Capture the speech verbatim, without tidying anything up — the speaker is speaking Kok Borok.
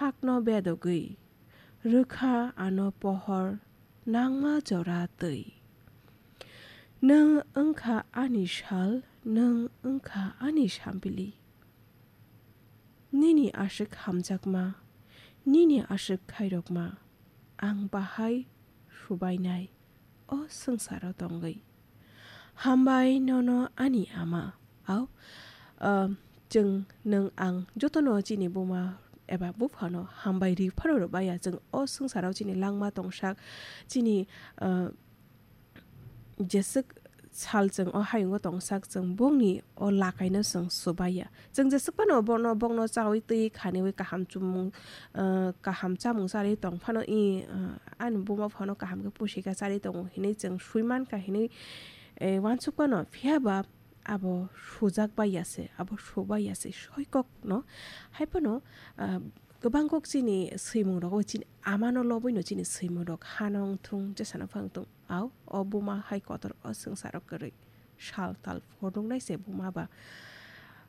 hakno bedogwi rwkha ano pohor nangma jora twi. Nwng wngkha ani sal, nwng wngkha ani sambili. Nini aswk hamjakma, nini aswk khairokma, ang bahai subainai o swngsaro tongwi. Hambai nono ani ama. Au, ah, chwng nwng ang jotono chini buma eba buphano hambai ri phano rwbaiya. Chwng o swngsaro chini langma tongsak, chini, ah, jeswk sal chwng o hayungo tongsak, chwng bongni o lakaino chwng subaiya. Chwng jeswk phano bono, bongno chawi twi khaniwi kaham chumung, ah, kaham chamung charwi tong phano i, ah, ani buma phano kaham khe pusika charwi tongo hinwi chwng sui mankha hinwi, eh, uansuk phano. Phiya ba abo sujak baiya se, abo subaiya se, soikokno. Hai phano, ah, kwbang kok chini swimung rogo chini amano lobwino chini swimung rok hano wngthung, jesano phang thung. Au, o buma hai kotor o swngsaro kwrwi sal tal phunuknai se buma ba.